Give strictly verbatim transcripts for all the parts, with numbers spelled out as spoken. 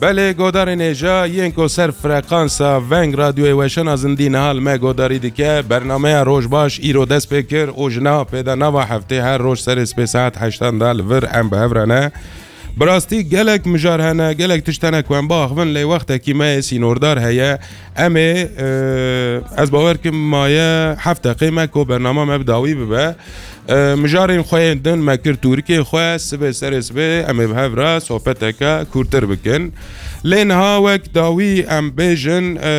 Belê, godarên hêja yên ku ser frekansa Veng Radyoyê Weşana Zindî niha li me godarî dike, bernameya Roj Baş îro dest pê kir û ji niha pê de nava heftê her roj serê sibê saet heştan de li vir em bi hev re ne. Bi rastî gelek mijar hene, gelek tişt hene ku em biaxivin, lê wextekî me yê sînordar heye. Em ê, e, ez bawer kim maye heft deqê me ku bernama me bi dawî bibe. E, mijarên xwe yên din me kir tûrikê xwe, sibê serê sibê em ê bi hev re sohbeteke kûrtir bikin. Lê niha wek dawî em bêjin, e,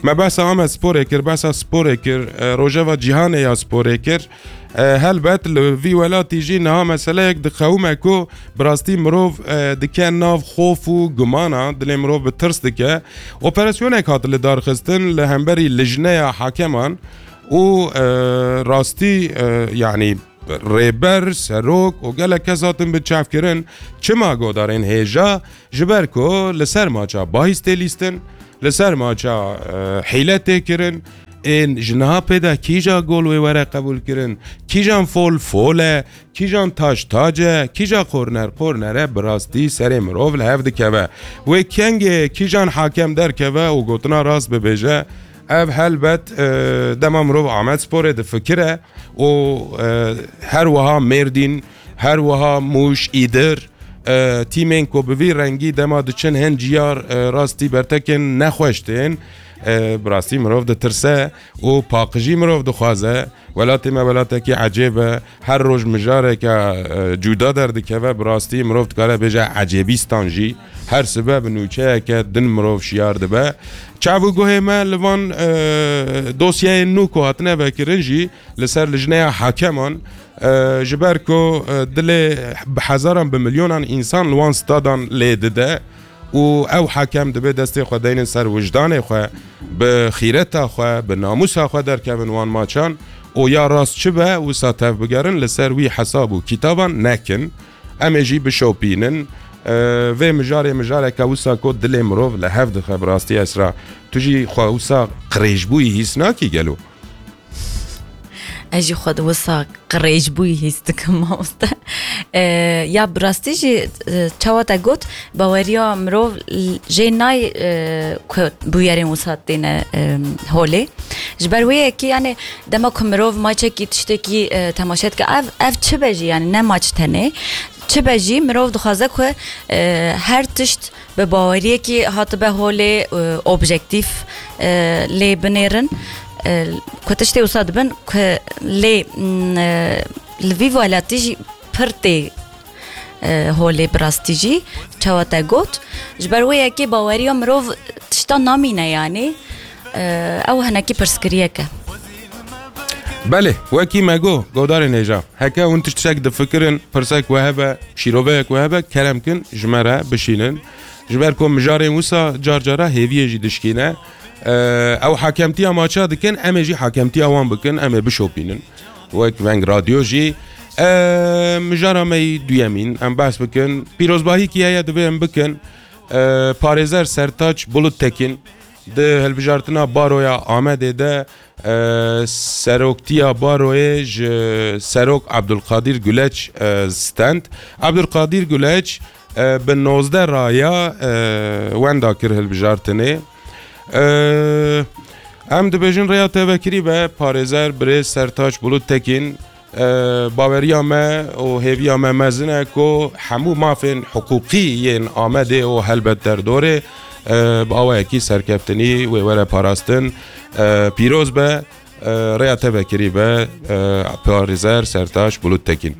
me behsa Amedsporê kir, behsa sporê kir, e, rojeva cîhanê ya sporê kir. E, helbet li vî welatî jî niha meseleyek diqewime ku bi rastî mirov, e, dike nav xof û gumana, dilê mirov bi tirs dike. Operasyonek hat lidarxistin li hemberî lijneya hakeman û, e, rastî, e, yanî rêber, serok û gelek kes hatin binçavkirin. Çima godarên hêja? Ji ber ku li ser maça bahîs tê lîstin, li ser maça, e, hîle tê kirin, ên ji niha pê de kîja gol wê were qebûlkirin, kîjan fol fol e, kîjan taş tac e, kîja korner korner e, bi rastî serê mirov li hev dikeve. Wê kengê kîjan hakem derkeve û gotina rast bibêje, ev helbet, e, dema mirov Amedsporê difikire û, e, her wiha Mêrdîn, her wiha Mûş, Îdir, e, tîmên ku bi vî rengî dema diçin hin ciyar, e, rastî bertekên nexweş tên, e, bi rastî mirov ditirse û paqijî mirov dixwaze. Welatê me welatekî ecêb e. Her roj mijareke, e, cuda derdikeve, bi rastî mirov dikare bêje ecêbîstan jî. Her sibe bi nûçeyeke din mirov şiyar dibe. Çav û guhê me li van, e, dosyayên nû ku hatine vekirin jî li ser lijneya hakeman, e, ji ber ku, e, dilê bi hezaran, bi milyonan însan li wan stadan lê dide û ew hakem dibê destê xwe deynin ser wijdanê xwe, bi xîreta xwe, bi namûsa xwe derkevin wan maçan û ya rast çi be, wisa tev bigerin, li ser wî hesab û kîtaban nekin. Em ê jî bişopînin. E, vê mijarê mijareke wisa ku dilê mirov li hev dixe, bi rastî Esra. Tu jî xwe wisa qirêjbûyî hîs nakî gelo? Ez jî xwe di wisa qirêjbûyî hîs dikim, mamoste. E, ya bi rastî jî, e, çawa te got, baweriya mirov l-, jê nayê, e, ku bûyerên wisa têne, e, holê. Ji ber wê yekê, yani, dema ku mirov maçekî, tiştekî, e, temaşe dike, ev, ev çi be jî, yani, ne maç tenê. Çi be jî, mirov dixwaze ku, e, her tişt bi baweriyekî hatibe holê, e, objektîf, e, lê binêrin, e, ku tiştê wisa dibin ku lê, mm, e, li vî welatî jî pir tê, e, holê bi rastî jî, çawa te got. Ji ber wê yekê baweriya mirov tişta namîne, yanî, e, ew hinekî pirsgiriyek e. Belê, wekî me got, godarên hêja, heke hûn tiştek difikirin, pirsek we hebe, şîroveyek we hebe, kerem kin, ji me re bişînin. Ji ber ku mijarên wisa car cara hêviyê jî dişkîne. E, ew hakemtiya maça dikin, em ê jî hakemtiya wan bikin, em ê bişopînin. Wek Veng Radyo jî, e, mijara me yî duyemîn, em behs bikin. Pîrozbahîkî heye, divê em bikin. E, parêzer Sertaç Bulut Tekin di hilbijartina Baroya Amedê de, e, seroktiya Baroyê ji Serok Abdulkadir Güleç, e, stend. Abdulkadir Güleç, e, bi nozdeh raya, e, wenda kir hilbijartinê. E, em dibêjin rêya tevekirî be, parêzer birêz Sertaç Bulut Tekin, e, baweriya me û hêviya me mezin e ku hemû mafên hiqûqî yên Amedê û helbet derdorê, e, bi awayekî serkeftinî wê were parastin. E, pîroz be, e, rêya tevekirî be, e, parêzer Sertaç Bulut Tekin.